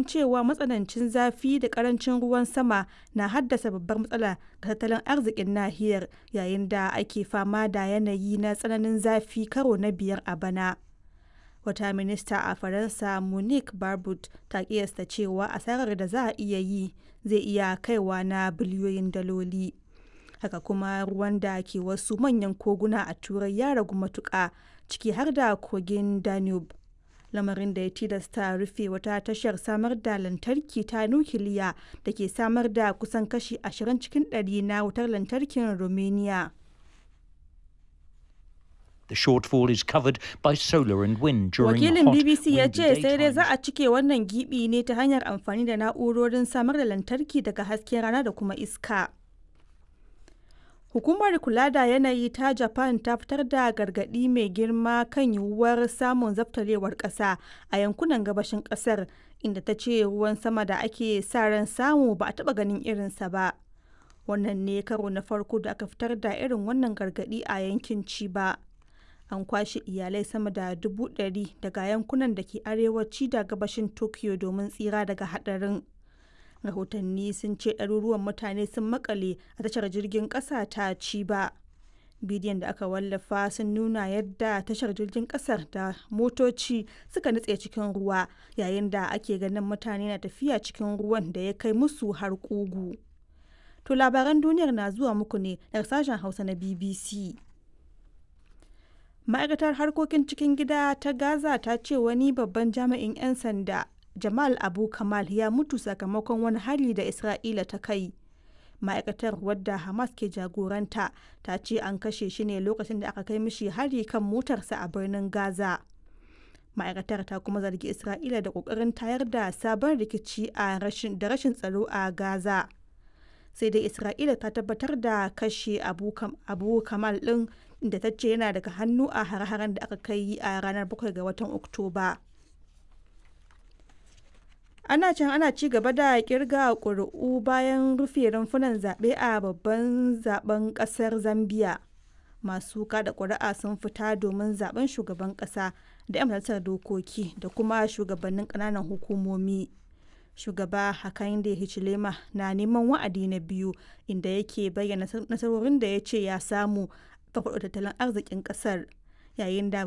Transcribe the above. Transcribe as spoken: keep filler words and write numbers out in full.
gargaɗin cewa matsanancin zafi da ƙarancin ruwan sama na haddasa babbar matsala ga tattalin arzikin nahiyar yayin da ake fama da yanayi na tsananin zafi karo na biyar a bana. Wata minista a Faransa Monique Barbut ta kiyasta cewa asarar da za a iya yi zai iya kaiwa na biliyoyin daloli. Haka kuma ruwan da ke wasu manyan koguna a Turai ya ragu matuƙa, ciki har da kogin Danube, lamarin da ya tilasta rufe wata tashar samar da lantarki ta nukiliya da ke samar da kusan kashi ashirin cikin ɗari na wutar lantarkin Romania. The shortfall is covered by solar and wind during Wakilin hot, B B C ya windy ce sai dai za daytimes. a cike wannan gibi ne ta hanyar amfani da na'urorin samar da lantarki daga hasken rana da kuma iska. Hukumar kula da yanayi ta Japan ta fitar da gargaɗi mai girma kan yiwuwar samun zabtarewar ƙasa a yankunan gabashin ƙasar, inda ta ce ruwan sama da ake sa ran samu ba a taɓa ganin irinsa ba. Wannan ne karo na farko da aka fitar da irin wannan gargaɗi a yankin Chiba. An kwashe iyalai sama da dubu ɗari daga yankunan da ke arewaci da gabashin Tokyo domin tsira daga haɗarin. Rahotanni sun ce ɗaruruwan mutane sun makale a tashar jirgin ƙasa ta Chiba. Bidiyon da aka wallafa sun nuna yadda tashar jirgin ƙasar da motoci suka nutse cikin ruwa yayin da ake ganin mutane na tafiya cikin ruwan da ya kai musu har ƙugu. To labaran duniyar na zuwa muku ne daga sashen Hausa na B B C. Ma'aikatar harkokin cikin gida ta Gaza ta ce wani babban jami'in 'yan sanda, Jamal Abu Kamal, ya mutu sakamakon wani hari da Isra'ila ta kai. Ma'aikatar, wadda Hamas ke jagoranta, ta ce an kashe shi ne lokacin da aka kai mishi hari kan motarsa a birnin Gaza. Ma'aikatar ta kuma zargi Isra'ila da kokarin tayar da sabon rikici a rashin da rashin tsaro a Gaza. Sai dai Isra'ila ta tabbatar da kashe Abu, Kam- Abu Kamal ɗin, inda ta ce yana daga hannu a hare-haren da aka kai a ranar bakwai ga watan Oktoba. Ana can ana ci gaba da kirga ƙuri'u bayan rufe rumfunan zaɓe a babban zaben ƙasar Zambia. Masu kada ƙuri'a sun fita domin zaben shugaban ƙasa da 'yan majalisar dokoki da kuma shugabannin ƙananan hukumomi. Shugaba Hakainde Hichilema na neman wa'adi na biyu, inda yake bayyana nasarorin da ya ce ya samu farfaɗo tattalin arzikin ƙasar yayin da